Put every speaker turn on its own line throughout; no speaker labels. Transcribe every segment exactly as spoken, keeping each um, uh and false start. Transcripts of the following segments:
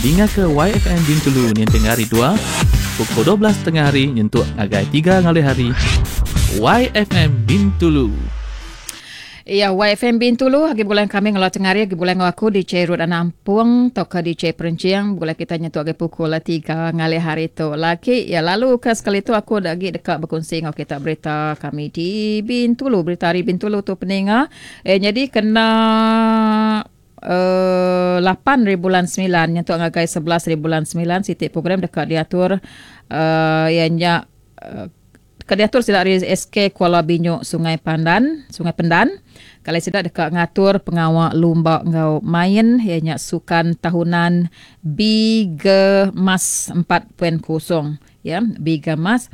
Dinga ke Y F M Bintulu ninting hari dua, pukul dua belas tengah hari nyentuk ngagai tiga ngalih hari. Y F M Bintulu.
Ya, Y F M Bintulu, agi bulan kami ngelau tengah hari, agi bulan ngau aku D J Ruth Anampung, tauka D J Perencing, bulan kita nyentuk agi pukul tiga ngalih hari tu. Lagi, ya lalu ke sekali tu aku lagi dekat berkongsi ngau kita berita kami di Bintulu, berita hari Bintulu tu peninga. Eh, jadi kena Uh, lapan hari bulan sembilan nyentuk ngagai sebelas hari bulan sembilan sitik program dekat diatur uh, ianya uh, dekat diatur sidak dari S K Kuala Binyuk Sungai Pandan, Sungai Pendan. Kalau sidak dekat ngatur pengawal lumba ngau main ianya sukan tahunan Bigemas empat titik kosong ya, Bigemas.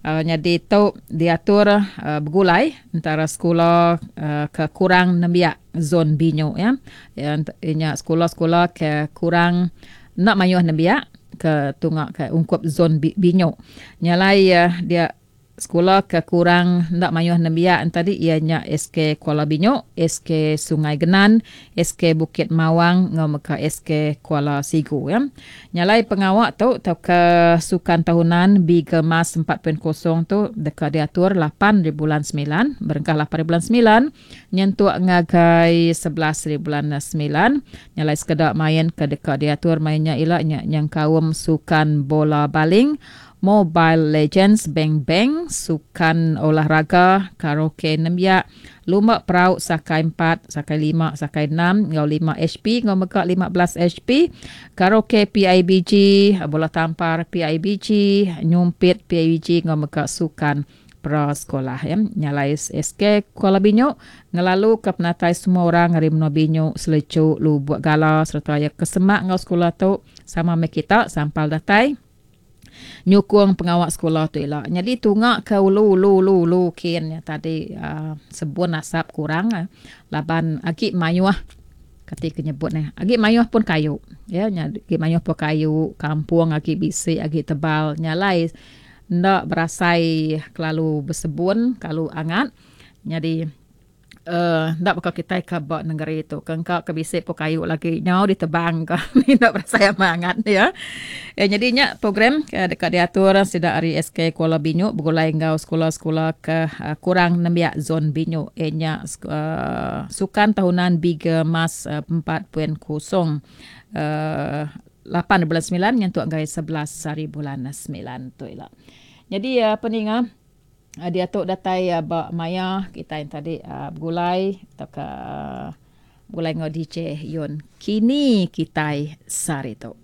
Uh, jadi tu diatur uh, bergulai antara sekolah uh, ke kurang nembiak zon Binyuk ya. Ya ianya sekolah-sekolah ke kurang nak mayuh nembiak ke tungak ke ungkup zon Binyuk. Nyalai uh, dia sekolah ke kurang nak mayuh nembiak tadi ianya S K Kuala Binyuk, S K Sungai Genan, S K Bukit Mawang ngau meka S K Kuala Sigu ya. Nyalai pengawak tu tau ke sukan tahunan Bigemas empat titik kosong tu dekat diatur lapan hari bulan sembilan, berengkah lapan hari bulan sembilan nyentuk ngagai sebelas hari bulan sembilan. Nyalai sekedak main ke dekat diatur mainnya ilak nya yang kaum sukan bola baling, Mobile Legends, Bang Bang, sukan olahraga, karaoke nembiak, lumba perahu sakai empat, sakai lima, sakai enam, ngau lima H P, ngau mega lima belas H P, karaoke P I B G, bola tampar P I B G, nyumpit P I B G, ngau mega sukan prasekolah ya. Nyalai S K Kuala Binyuk ngelalu ke penatai semua orang hari menua Binyuk, Selecuk, Lubuk Gala serta ya kesemak ngau sekolah tu sama me kita sampal datai nyukung pengawak sekolah tu elak. Jadi tungak ke ulu ulu ulu ulu kin ya, tadi uh, sebun asap kurang uh, laban agi mayuh ketika nyebut ni. Agi mayuh pun kayu ya, agi mayuh pun kayu kampung agi bisik agi tebal nyalai ndak berasai kelalu bersebun kalau angat. Jadi Uh, ndak bakal kita ke bak negeri tu. Kengkak ke bisik pun kayu lagi nyau ditebang ke. Ndak berasa hangat ya. Ya jadinya program ke dekat diatur sidak hari S K Kuala Binyuk bergulai ngau sekolah-sekolah ke uh, kurang nembiak zon Binyuk. Eh nya uh, sukan tahunan Bigemas uh, empat titik kosong uh, lapan bulan sembilan nyentuk gai sebelas hari bulan sembilan tu elak. Jadi uh, peninga Uh, dia tu datai uh, bak maya kita yang tadi uh, bergulai atau ke uh, bergulai ngau D J Yun. Kini kita sari tu.